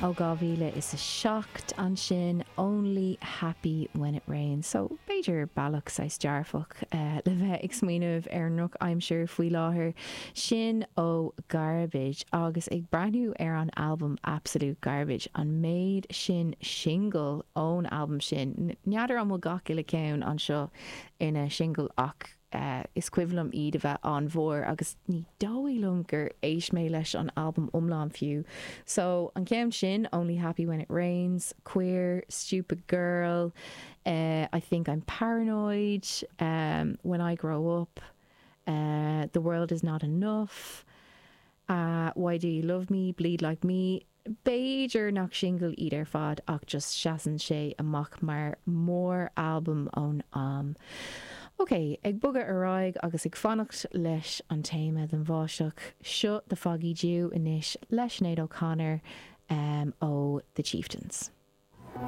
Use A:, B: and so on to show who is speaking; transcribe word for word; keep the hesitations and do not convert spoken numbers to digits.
A: ó dhá mhíle is a seacht ansin Only Happy When It Rains. So b'fhéidir bealach saghas dearfach uh, le bheith ag smaoineamh ar an ndrochaimsir faoi láthair sin ó Garbage agus ag breathnú ar an albam Absolute Garbage an méid sin single ón albam sin. N'fheadar an bhfuil gach uile ceann anseo ina single ach uh, is cuimhin liom iad a bheith an-mhór agus ní dóigh liom gur éist mé leis an albam iomlán fiú. So an ceann sin Only Happy When It Rains, Queer, Stupid Girl, uh, I Think I'm Paranoid, um, When I Grow Up, uh, The World Is Not Enough, uh, Why Do You Love Me, Bleed Like Me, B'fhéidir nach single iad ar fad ach just seasann sé amach mar mór albam ón am. Ok, ag bogadh ar aghaidh agus ag fanacht leis an téama den bháisteach seo The Foggy Dew anois le Sinéad O'Connor um, ó The Chieftains.